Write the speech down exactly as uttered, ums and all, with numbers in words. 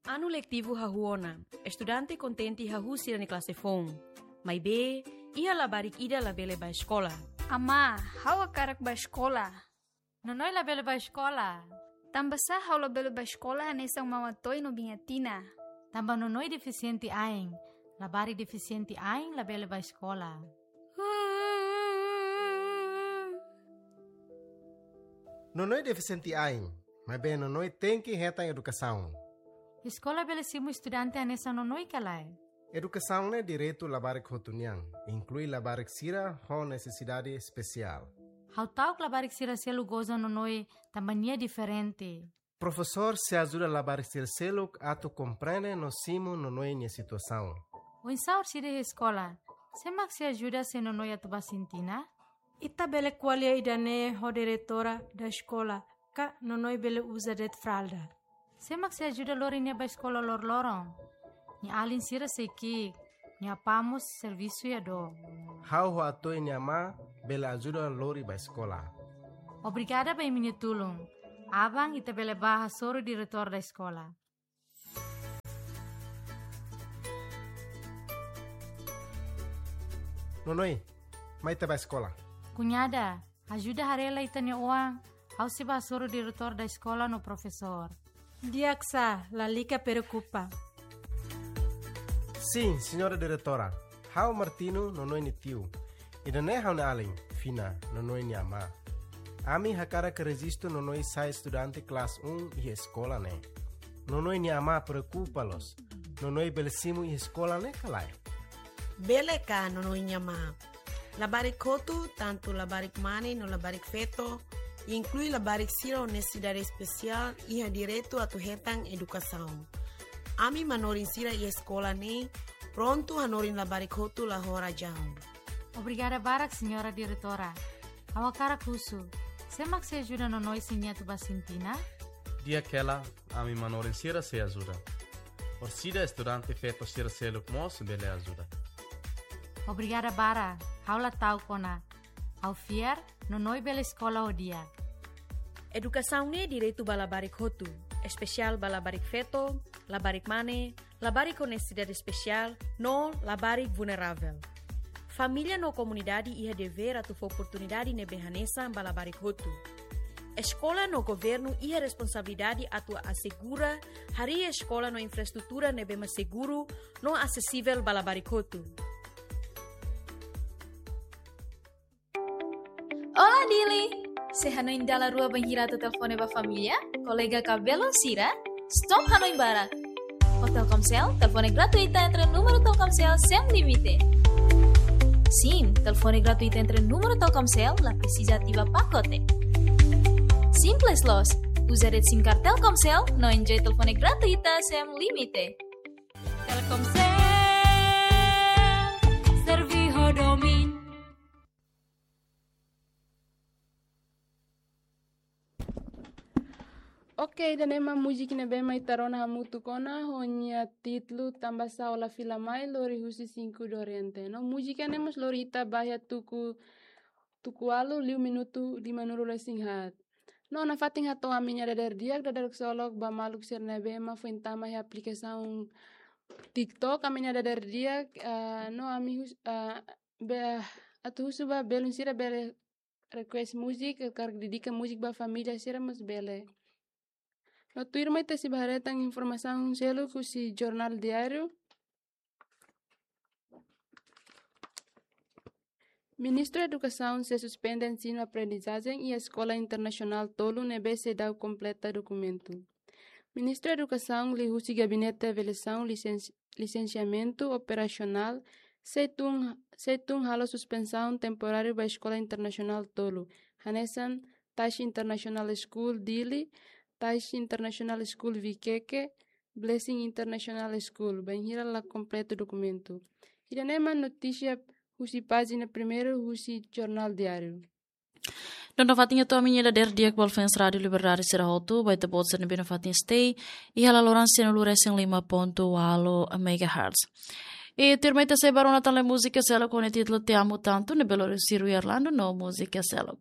Anu letivu hahú ona, estudante kontente hahú sira-nia klase foun. Maibé, iha labarik ida labele bá eskola. Amá, ha'u hakarak bá eskola. Nonoi labele bá eskola. Tanbasá ha'u labele bá eskola hanesan Mama Toy no Biña Tina? Tanba Nonoi defisiente ain. Labarik defisiente ain labele bá eskola. Nonoi defisiente ain, maibé Nonoi tenke hetan edukasaun. Eskola bele simu estudante hanesan Nonoi ka lae? Edukasaun ne'e direitu labarik hotu nian, inklui labarik sira ho nesesidade espesiál. Ha'u ta'uk labarik sira seluk goza Nonoi tanba nia diferente. Profesór sei ajuda labarik sira seluk atu komprende no simu Nonoi nia situasaun. Oinsá orsida iha eskola? Sé mak sei ajuda se Nonoi atu bá sintina? Ita bele ko'alia ida-ne'e ho diretora da eskola, ka Nonoi bele uza de'it fralda. Sé mak sei ajuda lori nia bá eskola loroloron? Nia alin sira sei ki'ik, nia apá mós servisu iha dook. Ha'u ho Atoy nia amá bele ajuda lori bá eskola. Obrigada ba imi-nia tulun. Aban ita bele bá hasoru diretór da eskola. Nonoi, mai ita bá eskola. Kuñada, ajuda haree lai ita-nia oan, ha'u sei bá hasoru diretór da eskola no profesór. Di'ak sá, lalika preokupa. Sin, señora diretora. Ha'u Martino, Nonoi nia tiu. Ida-ne'e ha'u-nia alin, Fina, Nonoi nia amá. Ami hakarak rejistu Nonoi sai estudante klase un iha eskola ne'e. Nonoi nia amá preokupa loos. Nonoi bele simu iha eskola ne'e ka lae? Bele ka, Nonoi nia amá. Labarik hotu, tantu labarik mane no labarik feto, inklui labarik sira ho nesesidade espesiál, iha direitu atu hetan edukasaun. Ami manorin sira iha eskola ne'e prontu hanorin labarik hotu la ho razaun. Obrigada barak, señora diretora. Ha'u hakarak husu, sé mak sei ajuda Nonoi se nia atu bá sintina? Di'ak hela, ami manorin sira sei ajuda. Orsida estudante feto sira seluk mós bele ajuda. Obrigada barak, ha'u la ta'uk ona. Ha'u fiar, Nonoi bele eskola ho di'ak. Edukasaun ne'e direitu ba labarik hotu, espesiál ba labarik feto, labarik mane, labarik ho nesesidade espesiál, no labarik vulneravel. Família no komunidade iha devér atu fó oportunidade ne'ebé hanesan ba labarik hotu. Eskola no governu iha responsabilidade atu asegura harii eskola no infraestrutura ne'ebé mak seguru no asesivel ba labarik hotu. Olá, Dili! Sei hanoin dala rua bainhira atu telefone ba família, kolega ka belun sira, stop hanoin barak. Ho Telkomsel, telefone gratuita entre númeru Telkomsel sem limite. Sin, telefone gratuita entre númeru Telkomsel la presiza ativa pakote. Simples loos, uza de'it SIM card Telkomsel no enjoy telefone gratuita sem limite. Telkomsel, serve ho domin. Ok, ida-ne'e mak múzika ne'ebé mak ita rona hamutuk ona, ho nia títulu Tanbasá ó la fila mai, lori husi Cinco do Oriente. No múzika ne'e mós lori ita ba iha tuku, tuku ualu liu minutu limanulu resin haat. No nafatin hato'o ami-nia dadeer di'ak, dadeer ksolok ba maluk sira ne'ebé mak foin tama iha aplikasaun TikTok, ami-nia dadeer di'ak, ah, no ami hus-, ah, be-, atu husu ba belun sira bele request múzika, karik dedika múzika ba família sira mós bele. No tuirmai ita sei bá haree tan informasaun seluk husi Jornál Diáriu. Ministru Edukasaun sei suspende ensinu aprendizajen iha Eskola Internasionál tolu ne'ebé seidauk kompleta dokumentu. Ministru Edukasaun liuhusi Gabinete Avaliasaun Lisensi-, Lisensiamentu Operasionál sei tun, sei tun halo suspensaun temporáriu ba Eskola Internasionál tolu, hanesan Tashi International School Dili, Tashi International School Vikeke, Blessing International School, bainhira la kompleta dokumentu. Ida-ne'e mak notísia husi pájina primeiru husi Jornál Diáriu. Dala ida nafatin hato'o ami-nia dadeer di'ak ba fans Rádiu Liberdade sira hotu, ba ita-boot sira ne'ebé nafatin stay iha laloran sianulu resin lima pontu ualu megahertz. I tuirmai ita sei bá rona tan lai múzika seluk ho nia títulu Te Amo Tanto, ne'ebé lori husi Rui Orlando no múzika seluk.